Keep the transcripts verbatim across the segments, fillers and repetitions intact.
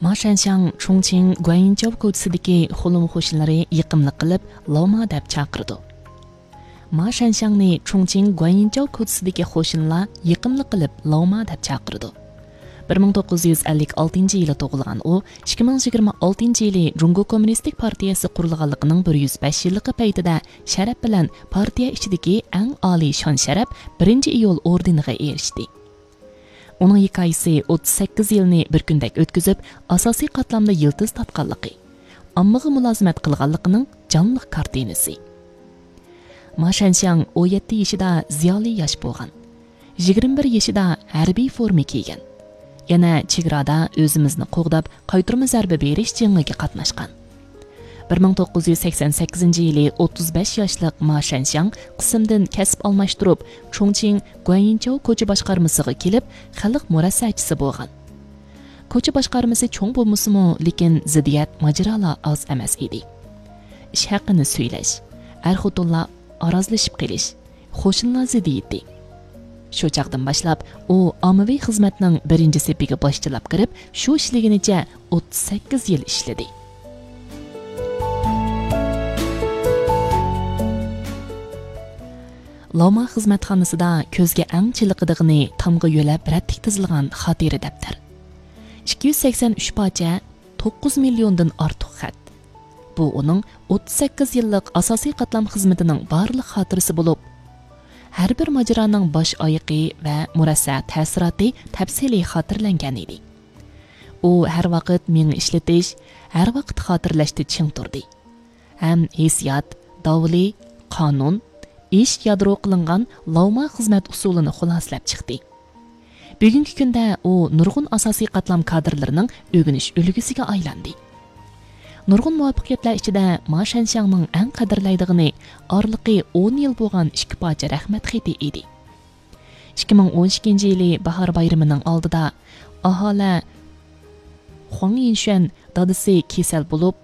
ما شەنشياڭ چۇڭچىڭ گۇەنيىنچاۋ كوچىسىدىكى خۇلۇم قوشۇنلىرى يېقىملىق قىلىپ، لاۋما دەپ چاقىرىدۇ. ما شەنشياڭنى چۇڭچىڭ گۇەنيىنچاۋ كوچىسىدىكى قوشۇنلار يېقىملىق قىلىپ لاۋما دەپ چاقىرىدۇ. بىر مىڭ توققۇز يۈز ئەللىك ئالتىنچى يىلى تۇغۇلغان ئۇ، ئىككى مىڭ يىگىرمە ئالتىنچى يىلى جۇڭگو كوممۇنىستىك پارتىيەسى قۇرۇلغانلىقىنىڭ بىر يۈز بەش يىللىقى پەيتىدە شەرەپ بىلەن پارتىيە ئىچىدىكى ئەڭ ئالىي شان-شەرەپ، بىرىنچى ئىيۇل ئوردېنىغا ئېرىشتى. ئۇنىڭ ھېكايىسى ئوتتۇز سەككىز يىلنى بىر كۈندەك ئۆتكۈزۈپ، ئاساسىي قاتلامدا يىلتىز تارتقانلىقى، ئاممىغا مۇلازىمەت قىلغانلىقىنىڭ جانلىق كارتىنىسى. ما شەنشياڭ ئون يەتتە يېشىدا زىيالىي ياش بولغان. يىگىرمە بىر يېشىدا ھەربىي فورما كىيگەن. يەنە چېگرادا ئۆزىمىزنى قوغداپ، قايتۇرما زەربە بېرىش جېڭىگە قاتناشقان. بىر مىڭ توققۇز يۈز سەكسەن سەككىزىنچى يىلى ئوتتۇز بەش ياشلىق ما شەنشياڭ قىسىمدىن كەسىپ ئالماشتۇرۇپ، چۇڭچىڭ گۇەنيىنچاۋ كوچا باشقارمىسىغا كېلىپ، خەلق مۇرەسسەچىسى بولغان. كوچا باشقارمىسى چوڭ بولمىسىمۇ، لېكىن زىددىيەت، ماجىرالار ئاز ئەمەس ئىدى. ئىش ھەققىنى سۈيلەش، ئەر-خوتۇنلار ئارازلىشىپ قېلىش، قوشۇنلار زىددىيىتى. شۇ چاغدىن باشلاپ ئۇ ئاممىۋى خىزمەتنىڭ بىرىنچى سېپىگە باشچىلاپ كىرىپ، شۇ ئىشلىگىنىچە ئوتتۇز سەككىز يىل ئىشلىدى. لاۋما خىزمەتخانىسىدا كۆزگە ئەڭ چېلىقىدىغىنى تامغا يۆلەپ رەتلىك تىزىلغان خاتىرە دەپتەر. ئىككى يۈز سەكسەن ئۈچ پارچە، توققۇز مىليوندىن ئارتۇق خەت. بۇ ئۇنىڭ ئوتتۇز سەككىز يىللىق ئاساسىي قاتلام خىزمىتىنىڭ بارلىق خاتىرىسى بولۇپ، ھەر بىر ماجىرانىڭ باش ئايىقى ۋە مۇرەسسە تەسىراتى تەپسىلىي خاتىرىلەنگەن ئىدى. ئۇ ھەر ۋاقىت مېڭە ئىشلىتىش، ھەر ۋاقىت خاتىرىلەشتە چىڭ تۇردى. ھەم ھېسسىيات، داۋلى، قانۇن، ئىش يادرو قىلىنغان لاۋما خىزمەت ئۇسۇلىنى خۇلاسىلەپ چىقتى. بۈگۈنكى كۈندە ئۇ نۇرغۇن ئاساسىي قاتلام كادىرلىرىنىڭ ئۆگىنىش ئۈلگىسىگە ئايلاندى. نۇرغۇن مۇۋەپپەقىيەتلەر ئىچىدە ما شەنشياڭنىڭ ئەڭ قەدىرلەيدىغىنى ئارىلىقى ئون يىل بولغان ئىككى پارچە رەھمەت خېتى ئىدى. ئىككى مىڭ ئون ئىككىنچى يىلى باھار بايرىمىنىڭ ئالدىدا ئاھالە خۇاڭ يىنشۈەن دادىسى كېسەل بولۇپ،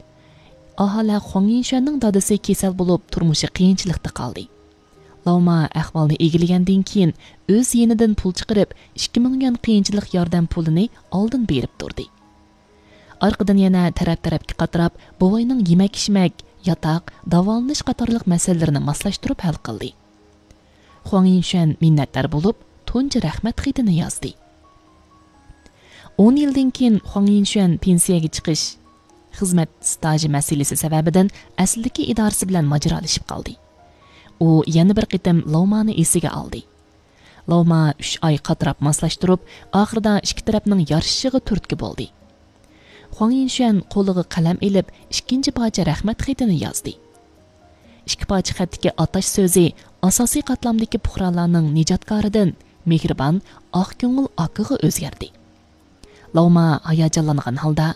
ئاھالە خۇاڭ يىنشۈەننىڭ دادىسى كېسەل بولۇپ، تۇرمۇشى قىيىنچىلىقتا قالدى. لاۋما ئەھۋالنى ئىگىلىگەندىن كېيىن، ئۆز يېنىدىن پۇل چىقىرىپ، ئىككى مىڭ يۈەن قىيىنچىلىق ياردەم پۇلىنى ئالدىن بېرىپ تۇردى. ئارقىدىن يەنە تەرەپ-تەرەپكە قاتراپ، بوۋاينىڭ يېمەك-ئىچمەك، ياتاق، داۋالىنىش قاتارلىق مەسىلىلىرىنى ماسلاشتۇرۇپ ھەل قىلدى. خۇاڭ يىنشۈەن مىننەتدار بولۇپ، تۇنجى رەھمەت خېتىنى يازدى. ئون يىلدىن كېيىن خۇاڭ يىنشۈەن پېنسىيەگە چىقىش، خىزمەت ستاژى مەسىلىسى سەۋەبىدىن ئەسلىدىكى ئىدارىسى بىلەن ماجىرالىشىپ قالدى. ئۇ يەنە بىر قېتىم لاۋمانى ئېسىگە ئالدى. لاۋما ئۈچ ئاي قاتراپ ماسلاشتۇرۇپ، ئاخىرىدا ئىككى تەرەپنىڭ يارىشىشىغا تۈرتكە بولدى. خۇاڭ يىنشۈەن قولىغا قەلەم ئېلىپ، ئىككىنچى پارچە رەھمەت خېتىنى يازدى. ئىككى پارچە خەتتىكى ئاتاش سۆزى ئاساسىي قاتلامدىكى پۇقرالارنىڭ نىجاتكارىدىن مېھرىبان، ئاق كۆڭۈل ئاكىغا ئۆزگەردى. لاۋما ھاياجانلانغان ھالدا،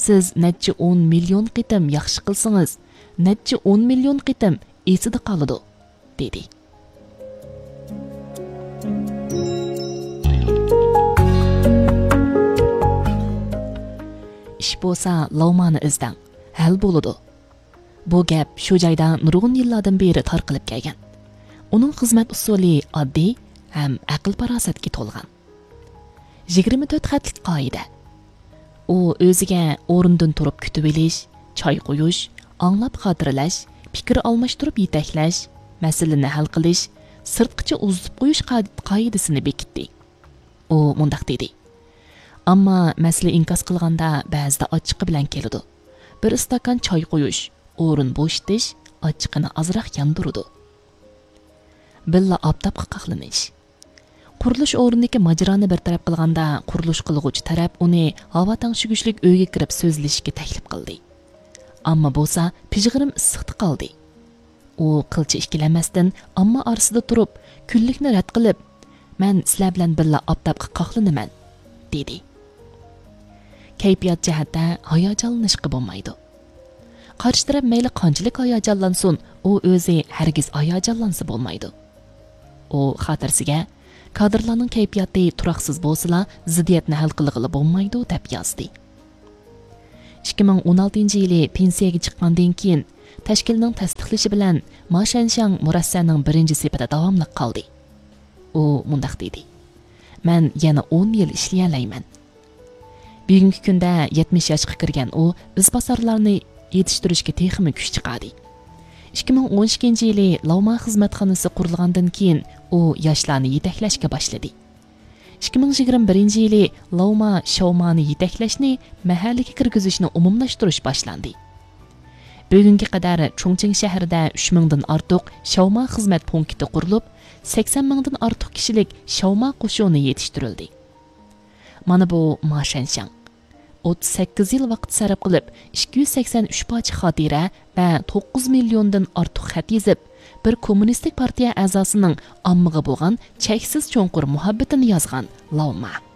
«سىز نەچچە ئون مىليون قېتىم ياخشى قىلسىڭىز، نەچچە ئون مىليون قېتىم ئېسىدە قالىدۇ» دېدى. ئىش بولسا لاۋمانى ئىزدەڭ، ھەل بولىدۇ. بۇ گەپ شۇ جايدا نۇرغۇن يىللاردىن بېرى تارقىلىپ كەلگەن. ئۇنىڭ خىزمەت ئۇسۇلى ئاددىي ھەم ئەقىل-پاراسەتكە تولغان. يىگىرمە تۆت خەتلىك قائىدە. ئۇ ئۆزىگە ئورنىدىن تۇرۇپ كۈتۈۋېلىش، چاي قۇيۇش، ئاڭلاپ خاتىرىلەش، پىكىر ئالماشتۇرۇپ يېتەكلەش، مەسىلىنى ھەل قىلىش، سىرتقىچە ئۇزىتىپ قويۇش قا-، قائىدىسىنى بېكىتتى. ئۇ مۇنداق دېدى: «ئامما مەسىلە ئىنكاس قىلغاندا بەزىدە ئاچچىقى بىلەن كېلىدۇ. بىر ئىستاكان چاي قويۇش، ئورۇن بوشىتىش ئاچچىقىنى ئازراق ياندۇرىدۇ.» بىللە ئاپتاپقا قاقلىنىش. قۇرۇلۇش ئورنىدىكى ماجىرانى بىر تەرەپ قىلغاندا، قۇرۇلۇش قىلغۇچى تەرەپ ئۇنى ھاۋا تەڭشىگۈچلۈك ئۆيگە كىرىپ سۆزلىشىشكە تەكلىپ قىلدى. ئامما بولسا پىژغىرىم ئىسسىقتا قالدى. ئۇ قىلچە ئىككىلەنمەستىن ئامما ئارىسىدا تۇرۇپ، كۈنلۈكنى رەت قىلىپ، «مەن سىلەر بىلەن بىللە ئاپتاپقا قاقلىنىمەن» دېدى. كەيپىيات جەھەتتە ھاياجانلىنىشقا بولمايدۇ. قارشى تەرەپ مەيلى قانچىلىك ھاياجانلانسۇن، ئۇ ئۆزى ھەرگىز ھاياجانلانسا بولمايدۇ. ئۇ خاتىرىسىگە، «كادىرلارنىڭ كەيپىياتى تۇراقسىز بولسىلا، زىددىيەتنى ھەل قىلغىلى بولمايدۇ» دەپ يازدى. ئىككى مىڭ ئون ئالتىنچى يىلى پېنسىيەگە چىققاندىن كېيىن، تەشكىلنىڭ تەستىقلىشى بىلەن، ما شەنشياڭ مۇرەسسەنىڭ بىرىنچى سېپىدە داۋاملىق قالدى. ئۇ مۇنداق دېدى: «مەن يەنە ئون يىل ئىشلىيەلەيمەن.» بۈگۈنكى كۈندە يەتمىش ياشقا كىرگەن ئۇ ئىزباسارلارنى يېتىشتۈرۈشكە تېخىمۇ كۈچ چىقاردى. ئىككى مىڭ ئون ئىككىنچى يىلى لاۋما خىزمەتخانىسى قۇرۇلغاندىن كېيىن، ئۇ ياشلارنى يېتەكلەشكە باشلىدى. ئىككى مىڭ يىگىرمە بىرىنچى يىلى لاۋما شاۋمانى يېتەكلەشنى مەھەللىگە كىرگۈزۈشنى ئومۇملاشتۇرۇش باشلاندى. بۈگۈنگە قەدەر چۇڭچىڭ شەھىرىدە ئۈچ مىڭدىن ئارتۇق شاۋما خىزمەت پونكىتى قۇرۇلۇپ، سەكسەن مىڭدىن ئارتۇق كىشىلىك شاۋما قوشۇنى يېتىشتۈرۈلدى. مانا بۇ ما شەنشاڭ. ئوتتۇز سەككىز يىل ۋاقىت سەرپ قىلىپ، ئىككى يۈز سەكسەن ئۈچ پارچە خاتىرە ۋە توققۇز مىليوندىن ئارتۇق خەت يېزىپ، بىر كوممۇنىستىك پارتىيە ئەزاسىنىڭ ئاممىغا بولغان چەكسىز چوڭقۇر مۇھەببىتىنى يازغان لاۋما.